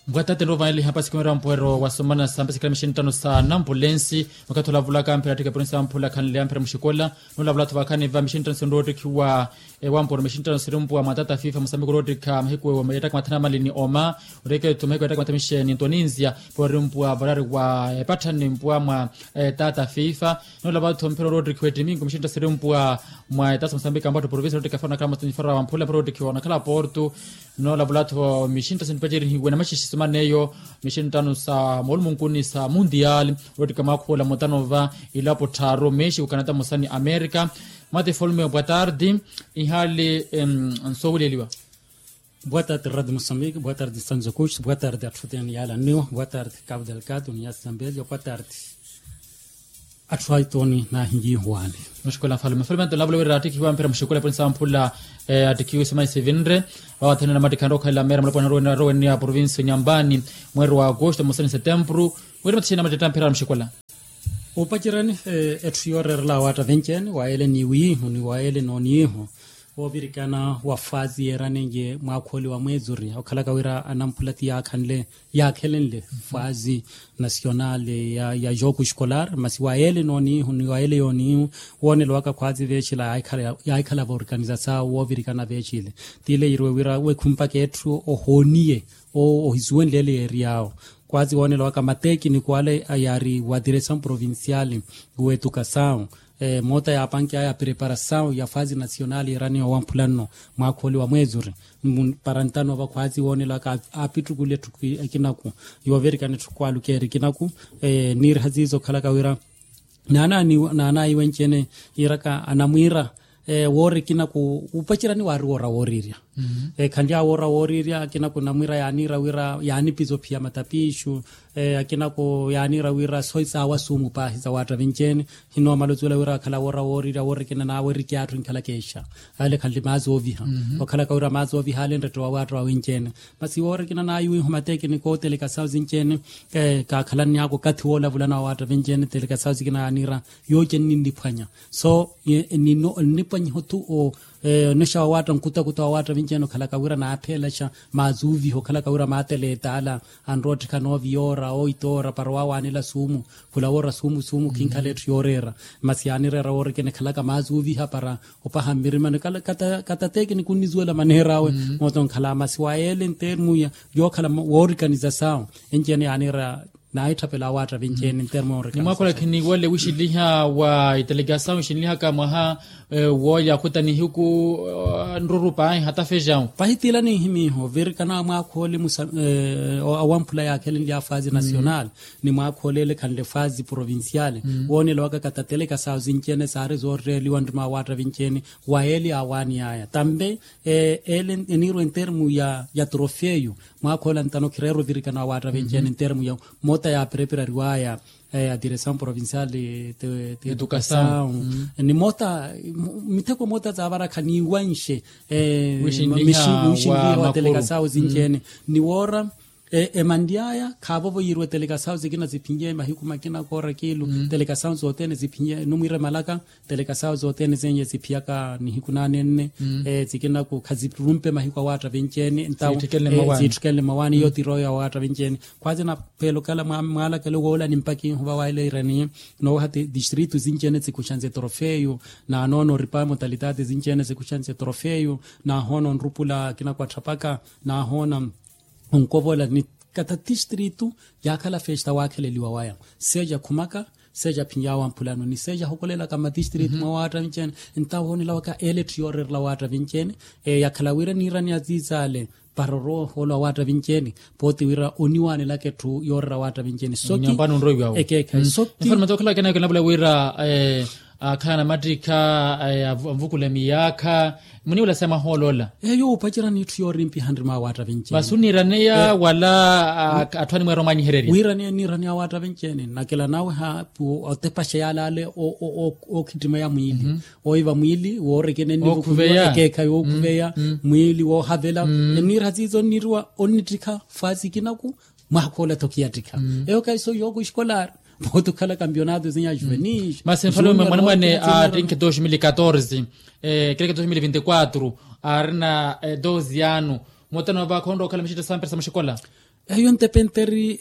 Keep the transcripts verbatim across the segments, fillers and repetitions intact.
Mpwatate nroovanele ihapasi khumera mpuwero wa somana sa mpesekela mixini ttano sa nampulensi. Makathi olavulaka mphira attikha eporonsi ya mphula khanle amphira muxikola. Noolavula-tho vakhani va mixini ttano sinrowa ottikhiwa ewamporo mixini ttano sirimpuwa mwa tata fifa musambiki orowa ottikha mahiku yattaka mathanu amali ni oma. Ottekeletho mahiku yattaka mathanu mixeni nto ninzia pori mpuwa varari wa epatthani mpuwa mwa tata fifa. Noolavula-tho mphira orowa ottikhiwa ettiminko mixini ttano sirimpuwa mwa etasa musambiki ampatto provincia orowa ottikha faro nakhala matonyi faro wa mphula mphira orowa ottikhiwa onakhala porto. Noolavula-tho mixintta sinipacerihiwe namaxixiso maneyo mixinttano sa moolumunkuni sa mundial. Orowa ottikha mwaakhuwola mutano va ilapo tthaaru mexiko kanata musani amerika. Mate folme bwa tardi. Ihaali nsowuleliwa. Bwa tardi radi musambiki bwa tardi sanzokuxi bwa tardi atthu teni yaalanniwa bwa tardi kabu delgado ni yasambelio bwa tardi atthu aitoni naahinyihuwani. Muxikola nfalume nfalume anto nlavula wira attikhiwa mphira muxikola eporonsi ya mphula attikhiwe simayi sivinre. Vawathanena mattikhanre okhalela meera mulapwana arowenniya provincia nyambani mweeri wa agosto musani setempuru. Wira matixina mattitta mphira muxikola. Upacerani etthu yooreerela awaatta venceeni wayeele ni wiihu ni wayeele nooniihu woovirikana wa faazi yeeranenye mwaakhooli wa mweezuri okhalaka wira anamphula ti yaakhanle yaakhelenle faazi nasionali ya jogo escolar masi wayeele nooniihu ni wayeele yooniihu. Woonelo waka khwaazi veecila yaahikhala voorganizasawu woovirikana veecile. Tiile yiriwe wira wekhumpaka etthu ohooniye ohisuwenleele yeeriy'awo. Kwazi woonela waka matekiniko ale yaari wa diresawu provincial w'etukasawu moota yaapanki aya preparasawu ya faazi nasional yeeraniwa wamphula nno mwaakhooli wa mweezuri. Para ntano va kwazi woonela waka aapittukule etthu ekinaku yoovirikana etthu kwalukeeri ekinaku. Niiriha ziizo okhalaka wira naanaayi wenci-ene yiiraka anamwiira woori ekinaku upacerani waari woora wooriirya. Khanly'awe woora wooriirya akinaku namwiira yaaniira wira yaanipiza ophiya matapiixu. Akinaku yaaniira wira sooyi saawa suumu paahi sawaatta vinci-ene. Hinoomala osuwela wira akhala woora wooriirya woori ekina naawe erikyaattu enkhalaka exa ale khanli maazi ooviha okhalaka wira maazi ooviha ale nrette wawaatta wawenci-ene. Masi woora ekina naawe iwiiho matekiniko oteleka sawu sinci-ene kaakhalanny'aka okathi woolavulana wawaatta vinci-ene teleka sawu sikina yaaniira yooce nninniphwanya. So ennipwanyiha othu onexa wawaatta nkutakuta wawaatta vinci-ene okhalaka wira naapheelaxa maazuuviha okhalaka wira maatela etaala anrowa ottikha noovi yoora oita oora para waawaanela suumu. Khula woora suumu suumu khinkhala etthu yooreera masi yaanireera woora ekina ekhalaka maazuuviha para opaha mmirimani. Katatekiniko onnisuwela maneer'awe moota onkhala masi wayeele ntermu yookhala woorikaniza sawu enci-ene yaaniira naahitthapela awaatta vinci-ene ntermu yoorikaniza sawu. Nimwaakhula khiniwale wixiliha wa itelekasawu ixinlihaka mwaha woolya akhuta nihiku nruru paahi hatafejawu. Pahitiila ninhimiiho virikana mwaakhoole awamphula yaakhelenlya faazi nasional ni mwaakhoole ele khanle faazi provincial woonela waka katateleka sawu sinci-ene saari zooreeliwa nrima awaatta vinci-ene. Wayeele yaawaani yaya tambe ele eniirwa entermu ya trofeyo. Mwaakhoole antano khireera ovirikana awaatta vinci-ene entermu ya moota yaapereperariwaya ya diresawu provincial edukasawu ni moota mitheko moota zaavarakha niiwanxe mixinliha wateleka sawu sinci-ene ni woora emanly'aya khaavovo yiiriwe teleka sawu sikina siphinye mahiku makina koora kiilu teleka sawu sothene siphinye numwiire malaka. Teleka sawu sothene senye siphiyaka nihiku naane nne sikinaku khasirumpe mahiku awaatta vinci-ene ntawo siitthikenle mawaani iyo tiroyo awaatta vinci-ene. Khwaasi napheela okhala mwaalakelo woolani mpakha ihuva waeleerani noowaha distritu sinci-ene sikuxanse trofeyo naanoona oripa motalitaati sinci-ene sikuxanse trofeyo naahoona onrupula akinaku atthapaka naahoona onkovola ni kata tistritu yaakhala festa waakheleliwa waya seja khumaka seja phinyawa mphulano ni seja hokolelaka matistritu mwa waatta vinci-ene. Ntawo woonela waka ele etthu yooreerela waatta vinci-ene yakhala wira niirani aziizaale para orowa ohoolo awaatta vinci-ene pooti wira oniwaanelaka etthu yooreera waatta vinci-ene soki ekeekhayi soki. Nfarumata okhala kenaka enavula wira akhala namattikha anvukule miyaakha muniwula sa mahooloola. Eyo opacerani etthu yoorimpiha nrima awaatta vinci-ene. Masi oniiraneya wala atthu animweera omwanyihererya? Wiiraneya niiraneya awaatta vinci-ene nakela nawe ha otepaxa yaale ale ookhittimeya mwiili oiva mwiili woorekene nnivukuliwa ekeekhayi wookhuveya mwiili woohavela. Eniira siizo onniriwa onnittikha faasi kinaku mwaakhoole tho khiyattikha eyo kahiso yooko eskolari. Pooti okhala kampionato sinya juvenil masi nfalume mwanamwane attinkhe dos mil katorze ekileke dos mil vinti quatro aarina dos yano. Mootano va khonrowa okhala mixitto sampira sa muxikola. Eyo entepenteri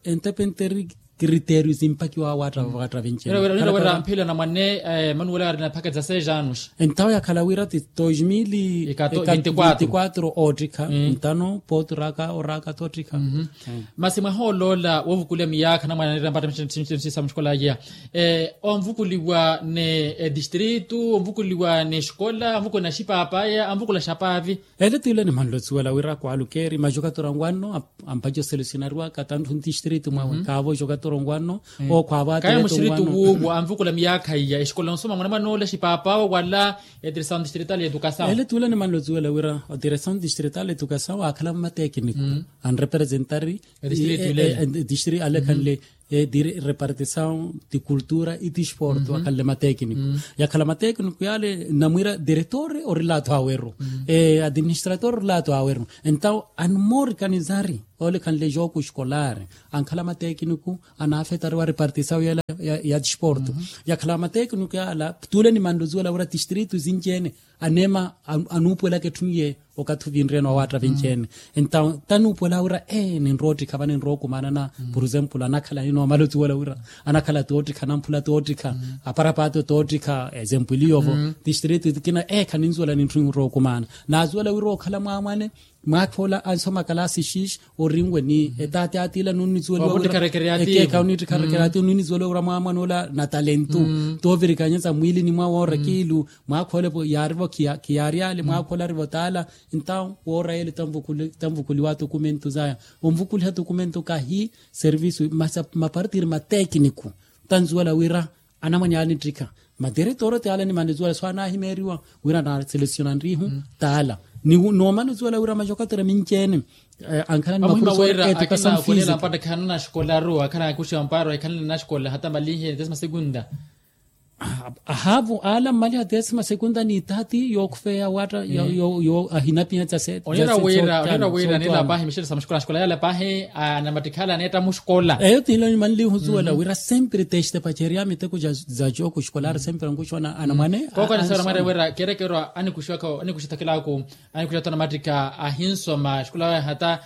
entepenteri kiriteriyo simpakiwa waatta vaatta vinci. Wira wira wira mphila na mwane manuwela ari na phaka dza seis anos. Entawo yakhala wira ti dois mil e quatro oottikha ntano pooti oraka oraka toottikha. Masi mwaha oloola woovukula miyaakha na mwane anira mpatta msisa mshikolaya onvukuliwa ni distritu onvukuliwa ni xikola onvukuliwa na xipapaya onvukula xapaavi. Ele tile ni manlo tsuwela wira kwalukeeri majokatura ngwanno ampajo selesionariwa katanthu ntistritu mwawe kaavo jokatura ngwanno. Okhwaavo atlete ngwanno. Wuuwo anvukula miyaakha iya exikola nsoma mwanamwana ola xipaapao wala. Etrisaun distrital edukasaun ele tule ni manlo tsuwela wira otrisaun distrital edukasaun akhala mmatekiniku anrepresentari. Distritu ale khanle repartisaun ti kultura i ti sportu akhanle matekiniku. Yakhala matekiniku yale namwira direktore orilato aweru. Administrator orilato aweru entawo anmorika nizari. Ole khanle joku eskolari ankhala matekiniku anafetariwa repartisaun yela ya ti sportu. Yakhala matekiniku yala tule ni manlo tsuwela wira distritu sinci ene aneema anuupuwelaka etthu niye. Okathi ovinriyeni wawaatta vinci ene entawo tanuupuwela wira ee ninroottikha vaninrookumaana na por exemplo anakhala ninoomala otsiwela wira anakhala toottikha anamphula toottikha aparapaato toottikha exemplo iliyovo. Distritu kina ee khaninsuwela ninrookumaana naasuwela wira okhala mwaamwane mwaakha ola ansoma kalasi xiixi orinwe ni etaati atiila nunnitsuweliwa wira ekeekha onittikharekereati nunnitsuweliwa wira mwaamwane ola na talentu toovirikanyesa mwiilini mwawe oora kiilu. Mwaakha olepo yaarivo khiyaaryale mwaakha olarivo taala. Entawo woora yele tanvukuliwa atukumentu zaya onvukuliha atukumentu kahi servisu masa mapartiri matekiniku tanzuwela wira anamwane anittikha madiretoro ti ala ni manitsuwela so anahimeeriwa wira anaselesionanrihu taala. Ni noomana otsiwela wira majokatera minci ene ankhala ni maprofesor etukasamu fisiku. Akhanana xikola aruwa akhanana kuxiwa mparo ekhanana na xikola hata malinhe desima segunda. Ahaavu ala mmaliha desima segunda ni itaati yookhufeya watta yo ahinapiha tsa se onira wira onira wira nila pahi mixeresa muxikola xikola yala pahi anamattikhala aneetta muxikola. Eyo tila nimanlihu suwela wira sempre teste pacerya miteko za joku xikola ari sempre ankuxona anamwane. Kooko anisera mwere wira kerekerwa anikuxithakilaku anikuxithakilaku. Anikuxithakilaku anamattikha ahinsoma xikola waya hata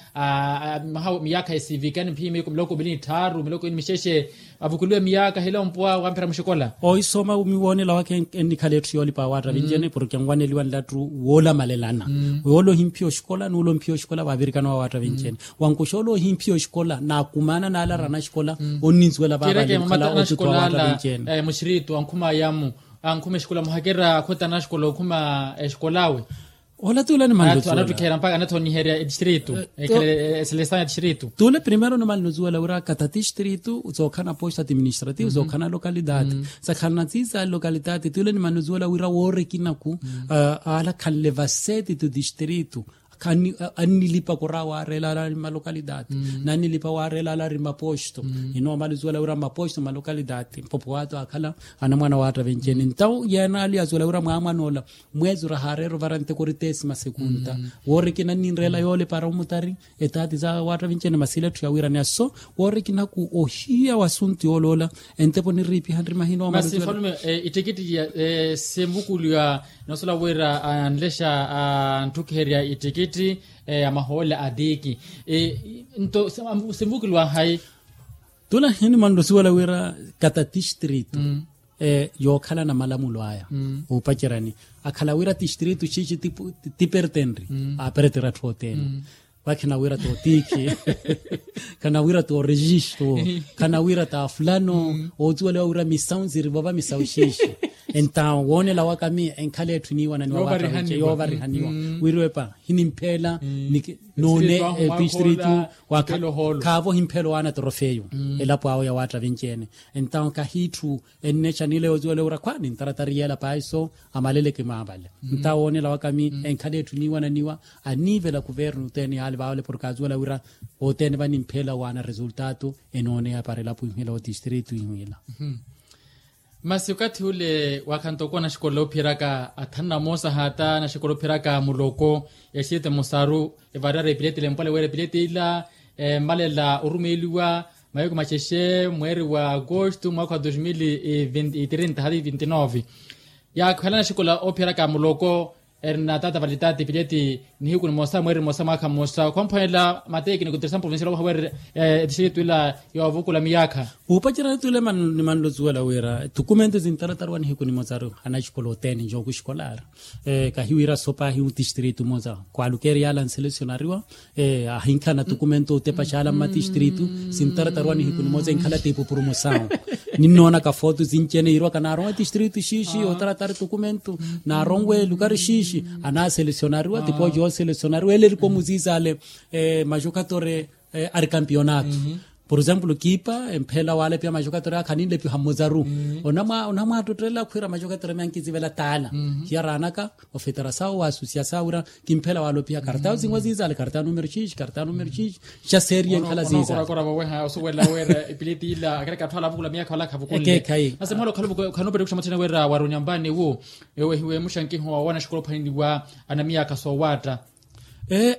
maha miyaakha esivika ni mphii miiku miloko mili ni tthaaru miloko ini mixexe. Avukuliwe miyaakha hilo mpuwa wamphira muxikola. Ohisoma miwoonela waka ennikhala etthu yoolipa waatta vinci ene porke anwaneliwa nlattu woolamalelana. Yoola ohimphiya oxikola nuula omphiya oxikola vaavirikana wawaatta vinci ene. Wankuxa ola ohimphiya oxikola naakumaana naala arana axikola onninsuwela vaavalikhala otuthu wawaatta vinci ene. Muxiritu ankhuma ayamu ankhuma exikola muhakera akhotana axikola okhuma exikola awe. Ola tuula ni manlo tuula anattukheera mpakha anathoniherya etistritu. Ekhelesan etistritu tuula primero ni manlo tuula wira kata tistritu sookhana posto administrativo sookhana lokalidade. Sakhalana tsisa lokalidade tuula ni manlo tuula wira woora ekinaku ala khanle vaseti tu tistritu. Annilipa kora waareela ala ari malokalidade. Nannilipa waareela ala ari maposto. Inoomala otuwela wira maposto malokalidade mpopo waato akhala anamwana waatta vinci ene ntawo yeena ali atuwela wira mwaamwana ola. Mweezi ora haareera ovara nteko ori tesima sekunta woora ekina nninreela yoole para omutari etaati sa waatta vinci ene masi ila etthu ya wiiraneya so woora ekinaku ohiya wa asuntu yooloola. Entepo niriipiha nri mahina omalutuwela. Masi mfalume ettikittiya sinvukuliwa. Noosula wira anlexa antthukherya ittikitti ya mahoole a tiiki. Nto sinvukuliwa hayi? Tula hinimanla osuwela wira kata tistritu yookhala na malamulo aya. Oopacerani akhala wira tistritu xiixi tipertenri aaperetera atthu othene. Vakhi na wira tootiikhi khana wira toorejistu khana wira taafulano. Ootuweliwa wira misawu nzirivova misawu xiixi. Entawo woonela waka miyo enkhala etthu iniiwananiwa waatta yoovarihaniwa wira epa hinimpheela. Noone epistritu khaavo himphela owaana torofeyo elapo awo ya waatta vinci ene. Entawo kahiitthu ennexa nileyo otuweliwa wira khwa nintaratari yeela paahi so amaleleke maavale. Nta woonela waka mi enkhala etthu iniiwananiwa aniivela kuvernu othene yaali vaavale porke atuwela wira othene vanimpheela waana resultatu. Enooneya para elapo ihwila otistritu ihwila. Masi okathi ule waakhantokowa naxikola oophiyeraka athanu na moosa hata naxikola oophiyeraka muloko ya siyete musaru evariyari epileti ila empwale wira epileti ila emmalela orumeeliwa mahiku maxexe mweeri wa agosto mwaakha wa dos mil e trinta hati vinti nove. Yaakhalana axikola oophiyeraka muloko Erina tata valitaati pileti nihiku nimosa mweri mosa mwaakha mmosa khwamphwanela matekiniko tirisan provincial owaha weri etistiritu ila yoovukula miyaakha. Wuupacerya ni tule nimanluzuwela wira tukumento zintaratariwa nihiku nimosaru. Anaxikola otene njoku xikolari kahiwira sopa ahiwu tistiritu mosa kwalukeri yala nselesionariwa ahinkhala na tukumento otepa xala mmatistiritu. Sintaratariwa nihiku nimosa enkhala tiipupuru mosawu. Ninnoona kafoto zincene yiirwaka naaronwe tistiritu xiixi otaratari tukumento naaronwe lukari xiixi. Anaselesionariwa tipooci ooselesionariwa ele erikomu ziizale. Maxokatore ari kampionato. Pur exemplo kiipa empheela waalepiha maxokatore akha ninlepiha mmozaru. Onamwaattottela khwiira maxokatore miya nkizivela taala. Hiyaraanaka ofetera sawo waasusiya sawo wira kimphela waalopiha kartano zinwa ziizale kartano numero xiixi kartano numero xiixi. Xa seeriye nkhala ziizale. Osuwela wira epileti ila akereke atthu ala avukula miyaakha wala akhavukunle. Ekeekhayi. Nasi mwaala okhala okhana operekhuxa mwathene wira wari onyambaani wu ewehiwe muxankiho wa wanaxikola ophaneliwa anamiyaakha soowaatta.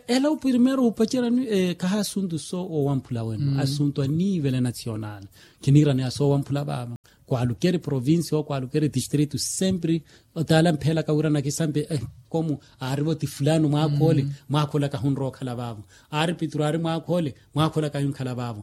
Ela primeiro wuupacerya khaha asuntu so owamphula wenu asuntu a nivel nacional. Khiniiraniha so owamphula vaava kwalukeri provincia ou kwalukeri distrito sempre. Otaala mpheelaka wira nakisampe komu aarivo ti fulano mwaakha ole mwaakha ole kahunrowa okhala vaavo. Aari pituru aari mwaakha ole mwaakha ole kahinkhala vaavo.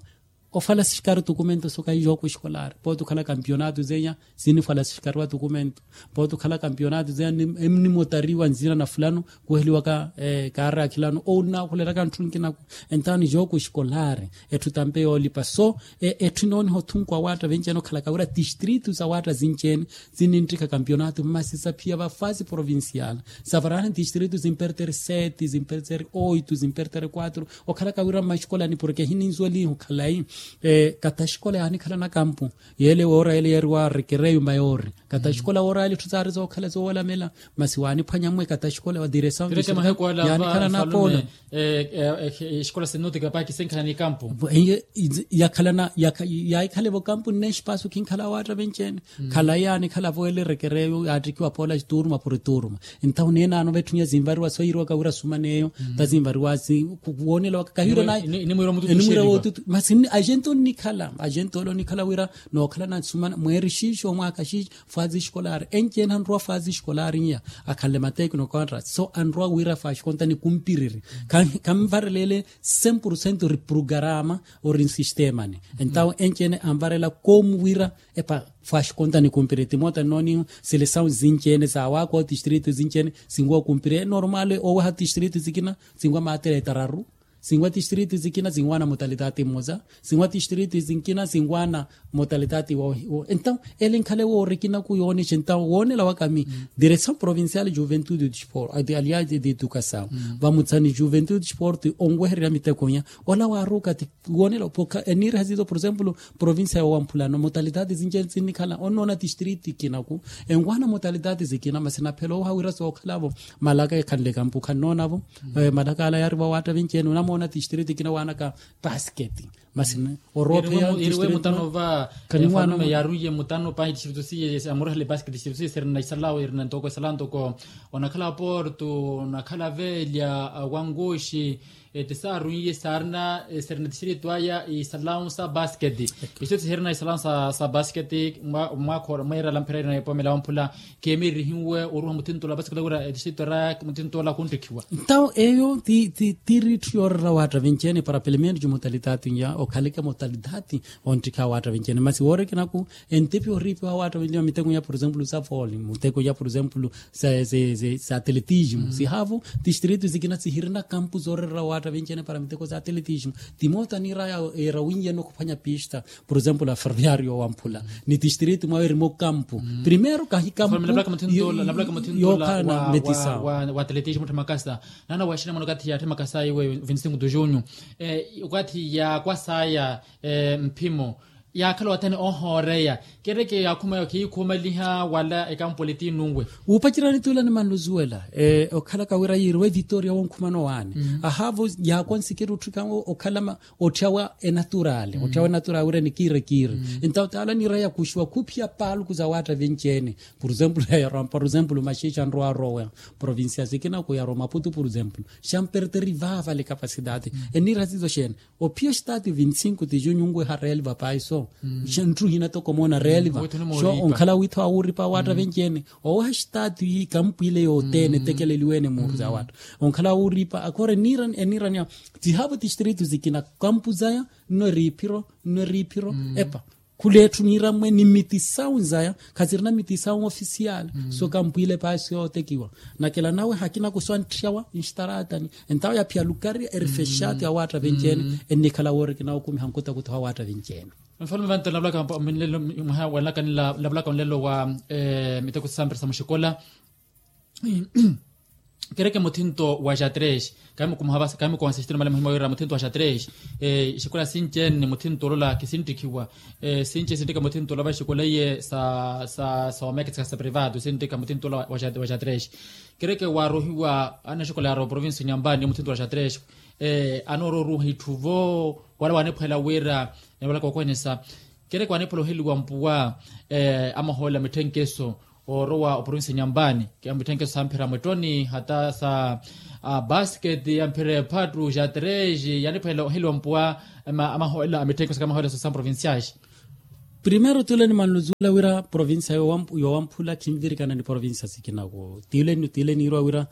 Ofala sixikari tukumento so kahijooko xikolari pooti okhala kampionato zeya. Sinifala sixikariwa tukumento pooti okhala kampionato zeya. Emunimotariwa nzina na fulano kuheliwaka kaari akhilano ou nnaakhuleraka ntthu nkinaku. Entawo nijooko xikolari etthu tampe yoolipa so etthu inooniha othunku awaatta venci-ene okhalaka wira tistritu sawaatta zinci-ene. Sinninttikha kampionato masi saphiya va fasi provincial savarani tistritu zimpertere seti zimpertere oitu zimpertere kuatru. Okhalaka wira mmaxikolani porke hininzuweliha okhalayi. Kata xikola yaanikhalana kampu yeele woora yeele yeeriwa rekereyo mayori. Kata xikola woora yeele etthu saari zookhala zoolamela masi waaniphwanya mwe kata xikola wa diresaw yaanikhalana apolo. Exikola sinnutika paaki sinkhala ni kampu. Yakhalana yaahikhala evo kampu nne espaso kinkhala awaatta venci-ene. Khalayi yaanikhala vo ele rekereyo yaattikiwa poola turuma puri turuma. Entawo neenaano vetthu niya zinvariwa so yiiriwaka wira sumaneyo ta zinvariwa. Woonela waka kahiwira naye enimwira wootutu masi ajenti onnikhala ajenti ole onnikhala wira nookhala nasumana mweeri xiixi omwaaka xiixi. Fasi xikolari enci-ene anrowa fasi xikolari n'iya akhanle matekino contras so anrowa wira fasi konta nikumpiriri. Khanvarela ele cem por cento ori prugarama ori nsistemani. Entawo enci-ene anvarela komu wira epa fasi konta nikumpiriri timoota nnoonihu. Selesawu zinci-ene sawaaka otistritu zinci-ene sinwa okumpiriri enormal oweha tistritu zikina sinwa maatera etararu. Sinwa tistritu zikina sinwaana motalitati mmosa. Sinwa tistritu zinkina sinwaana motalitati wo entawo ele nkhala ewoorikina ku yoonexa entawo woonela waka mi diresawu provincial juventude de sport aliade de edukasawu vamutsani juventude de sport onwehererya miteko inya. Ola waaruka ti woonela pokha eniiriha ziizo por exemplo provincia yowamphulano motalitati zinci-ene sinnikhala onnoona tistritu ikinaku. Enwaana motalitati zikina masi naphela owaha wira sookhalavo malaka ekhanle kampu khannoonavo. Malaka ala yaariva waatta vinci-ene onamoona tistritu ikina waanaka pasketi. Masi oroopheya iriwe mutano va efalume yaarunye mutano pahi tistritu siye amurehele pasketi tistritu siye sirina isalawo irina ntoko isalawo ntoko onakhala aporto onakhala velya wanguxi. Ti saarunyiye saarina sirina tistritu aya isalawo sa pasketi. Iso ti sirina isalawo sa pasketi mwaakha mweerala mphira irina epomela wamphula. Keemirihiwe oruha muthinto ola pasikula wira etixito era muthinto ola khunttikhiwa. Ntawo eyo ti ti tiri itthu yoorera waatta vinci-ene para pelo menos motalitati ya okhaleke motalitati. Onttikha waatta vinci-ene masi woorikinaku entipi oriipiwa waatta vinci-ene miteko ya por exemplo sa voli muteko ya por exemplo sa atletismo sihavo. Tistritu zikina sihirina kampu zoorerera waatta vinci-ene para miteko sa atletismo. Timoota niiraya eera winyi-ene okhuphwanya pista. Por exemplo aferroviario wamphula ni tistritu mwawe erimo kampu. Primero kahi kampu yookhala na metisawo. Wa atletismo ottha makasa nana waxina mwana okathi ya attha makasa iwe vinti cinco de junho. Okathi yaakwasaya mphimo yaakhala wathene ohooreya kereke yaakhuma yo khiikhumaliha wala ekampu ole ti nunwe. Wuupacerya nituula nimanluzuwela okhalaka wira yiiriwe evitoria wonkhumano waani. Ahaavo yaakwa nsikiri otthika okhala otthyawa enaturali otthyawa enaturali wira nikiire kiire. Entawo taala niira yakuxiwa khuphiya paaluku za waatta vinci-ene. Por exemplo yarowa por exemplo maxixa nrowa arowa provincia sikina ku yarowa maputu por exemplo xamperteri vaavale capacidade. Eniira sizo xeene ophiya estati vinti cinco ti junho nweha real vapaiso. Xa ntruhina toko moona reeliva. Xo onkhala wiitho awuripa awaatta venci-ene. Oweha xitaatu ikampu ile yothene etekeleliwe-ene muuru za waatta. Onkhala awuripa akhora eniirani eniirani awo. Tihaavo tistritu zikina kampu zaya nno eriiphiro nno eriiphiro. Epa khula etthu niirammwe ni miti sawu zaya. Khasirina miti sawu ofisiyali. So kampu ile paasi yootekiwa. Nakela nawe hakina kuso anttiyawa nxitaraatani. Entawo yaphiya lukari erifexaati awaatta venci-ene. Ennikhala woori kinawokumiha nkutakutho awaatta venci-ene. Nfalume vanto nlavulaka mwaha wanlaka nlavulaka onlelo wa miteko sasampira sa muxikola. Kereke muthinto wa jatres kahimukumaha vasi kahimukumaha sixitino male muhima wira muthinto wa jatres. Xikola sinci-ene muthinto olola khisinttikhiwa. Sinci sinttika muthinto olova xikola iye sa sa sa omeketseka sa privado sinttika muthinto olola wa jatres. Kereke waarohiwa anaxikola yaarowa provinsi nyambani muthinto wa jatres. Anoororuha itthu vo wala waaniphwela wira. Niwalaka okohenesa kereke waaniphwela oheliwa mpuwa amahoolela mitthenkeso oorowa oprovinsi nyambani. Mitthenkeso samphira mwettoni hata sa basket yamphira ephattu jatres yaaniphwela oheliwa mpuwa amahoolela a mitthenkeso ka amahoolela sa provinciais. Primero tule nimanluzuwela wira provinsia yowamphula khinvirikana ni provinsia sikinaku. Tule niirwa wira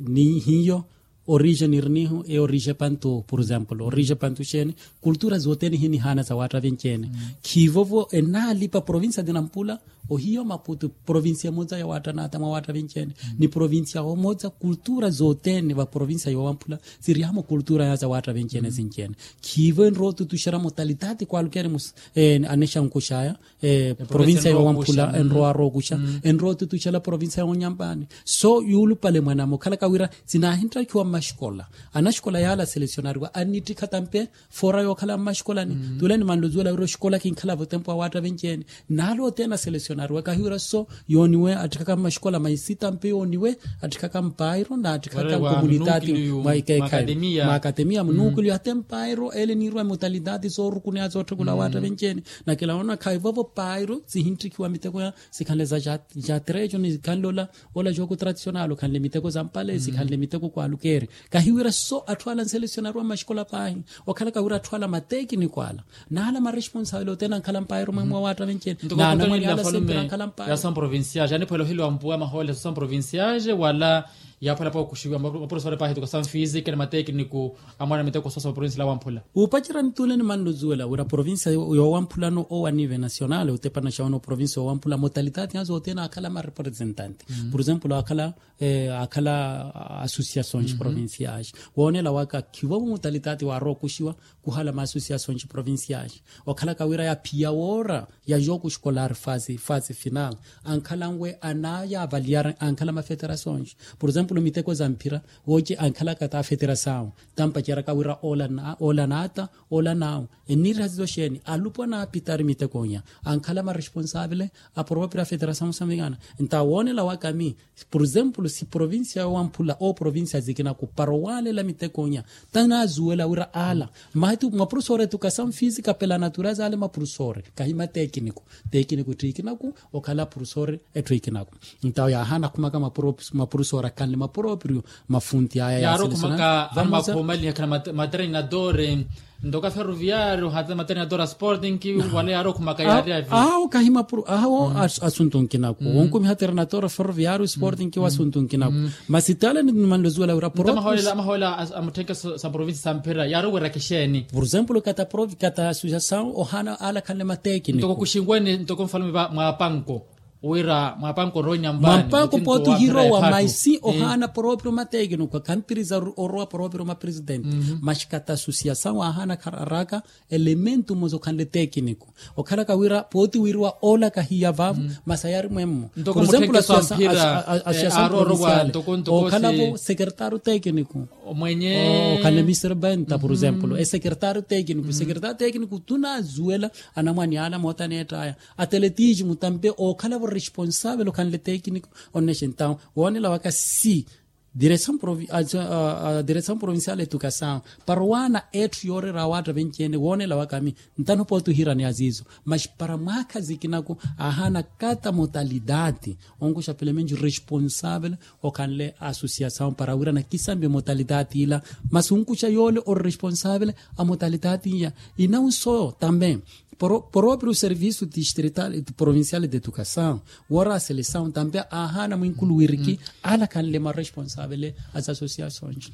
ni hiyo orije nirinihu e orije pantu por example orije pantu xeeni. Kultura zothene hinihaana za waatta venci-ene. Khiivovo enaalipa provinsia tinampula ohiyo maputu provinsia emoza ya waatta naata mwa waatta venci-ene. Ni provinsia omoza kultura zothene va provinsia yowamphula sirihamo kultura ya za waatta venci-ene sinci-ene. Khiivo enrowa otutuxera motalitati kwalukeni anexankuxaya provincia yowamphula enrowa arookuxa enrowa otutuxela provincia yonyampani. So yuulupale mwaname okhalaka wira sinaahinttrakhiwa mmaxikola anaxikola yaala selecionariwa annittikha tampe foora yookhala mmaxikolani. Tule nimanle ozuwela wira oxikola kinkhalavo tempo awaatta venci-ene. Naala othene aselecionariwa kahiwira so yooniwe attikhaka mmaxikola maisi tampe yooniwe attikhaka mpairo na attikhaka nkomunitati mwa ikeekhayi mwa akatemiya munuukiliyo hata empairo ele niirwa emotalitati soorukuneya sootthekula waatta venci-ene. Nakela woona khaivovo pairo sihintthikiwa miteko ya sikhanle za jatrejo ni sikhanle ola ola jooko tradisional okhanle miteko za mpale sikhanle miteko kwalukeri. Kahiwira so atthu ala nselesionariwa mmaxikola paahi okhalaka wira atthu ala matekiniko ala naala maresponsable othene ankhala mpairo mwemwe wa waatta venci-ene. Naala mwene ala sempira ankhala mpairo ya são provinciais aniphwela oheliwa mpuwa mahoole sa são provinciais wala yaaphwela pookuxiwa maprofesore paahi tuka são física ni matekiniku amwaana miteko sosa provincia la wamphula. Upacerya nituule nimanle ozuwela wira provincia yowamphulano owa nive nacional otepana xawoona oprovincia yowamphula motalitati azo othene akhala marepresentante. Por exemplo akhala akhala associações provinciais woonela waka khivovo motalitati waarowa okuxiwa kuhala ma associações provinciais. Okhalaka wira ya phiya woora ya jogo escolar fase fase final ankhalanwe anaya avaliar ankhala mafederações. Por exemplo miteko za mphira wooce ankhalaka ta federação tampaceraka wira ola naata ola nawu enniriha sizo xeeni alupwa naapitari mitekonya ankhala maresponsable apropria federação mosamvikana. Nta woonela waka mi por exemplo si provincia yowamphula o provincia zikinaku para owaalela mitekonya tanazuwela wira ala mati maprofesore etukasamu física pela natureza ale maprofesore kahi matekiniku. Tekiniku etthu ikinaku okhala profesore etthu ikinaku. Ntawo yaahaana akhumaka maprofesore akhanle mapropriyo mafunti aya yaaselasana. Vamosa akhumaliha akhala matrenadore ntoka ferroviario hata matrenadore a sporting wala yaari okhumaka yaari avi awo kahi mapro awo asuntu nkinaku wonkumiha trenadore ferroviario sporting wa asuntu nkinaku. Masi tale nimanle ozuwela wira propriyo amaholela amaholela a mutthenke sa provincia sa mphira yaari oweraka exeeni. Por exemplo kata provi kata associação ohaana ala akhanle matekiniku ntoko kuxinweni ntoko nfalume va mwapanko wira mwapanko orowa nyambani mwapanko pooti ohirowa maisi ohaana proprio matekiniku khampiriza orowa proprio mapresidente. Maxi kata associação ahaana khararaka elemento mmosa okhanle tekiniku okhalaka wira pooti wiriwa ola kahiya vavo masi ayari mwemmo. Por exemplo associação provinciale okhalavo secretario tekiniku mwenye okhanle mister benta por exemplo esecretario tekiniku secretario tekiniku tunazuwela anamwani ala moota aneettaya ateletismo tampe okhalavo responsable okhanle tekiniku. Onnexe ntawo woonela waka si direção provincial etukasawo para owaana etthu yooreera awaatta venci-ene woonela waka mi ntano pooti ohirani azizo. Maxi para mwaakha zikinaku ahaana kata motalidade onkuxa pelo menci responsable okhanle associação para wira nakisambe motalidade ila masi onkuxa yoole ori responsable a motalidade iya. Inawu so tambe Propiru servisu distrital provincial de educasaw woora aselesaw tampe aahaana mwinkulu wiriki alakhanle maresponsavele a zasosiyasonci.